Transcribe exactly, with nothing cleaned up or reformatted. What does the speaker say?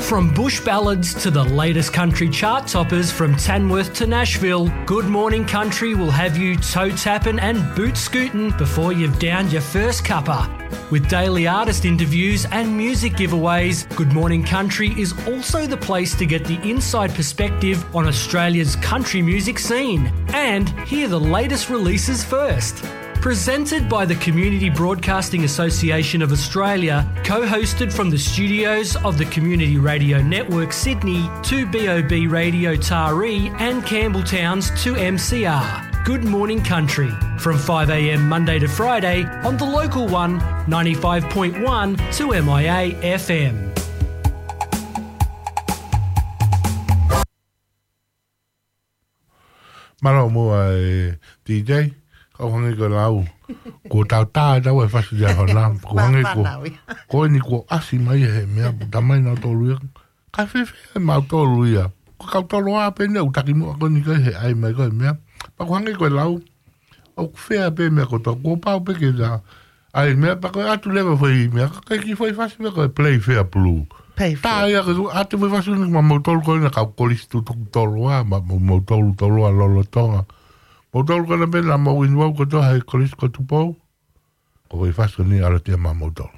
From bush ballads to the latest country chart toppers, from Tamworth to Nashville, Good Morning Country will have you toe tapping and boot scooting before you've downed your first cuppa. With daily artist interviews and music giveaways, Good Morning Country is also the place to get the inside perspective on Australia's country music scene and hear the latest releases first. Presented by the Community Broadcasting Association of Australia, co-hosted from the studios of the Community Radio Network Sydney, two B O B Radio Taree and Campbelltown's two M C R. Good Morning Country, from five a.m. Monday to Friday on the local one, ninety-five point one two M I A F M. Mālō muʻa e D J, kau hangē ko e lau. Kuo tau tā e tau e fasi dia hona. Kuo hangē ko, ko eni kuo ʻasi mai he meʻa, tamai nau tolu ia. Ka fēfē e mau tolu ia. Ko kau tolu a pē ne u taki muʻa ko eni kai he ʻai mai ko e meʻa. Pea kuo hangē ko e lau. ʻOku fea pē meʻa ko tau, kuo pau pē ke tā. ʻAi meʻa pea ko e atu leva foʻi meʻa, ka ki foʻi fasi meʻa ko e play fair blue. Play fair. Tā ia ko e atu foʻi fasi ni ma mau tolu ko ena kau kolisi tutuku tolu a, ma mau tolu tolu a lolotonga. Mau tolu ko ena pē na mau inu au ko toa he kolisi ko Tupou. Ko foʻi fasi ni ʻalu atu ia ma mau tolu.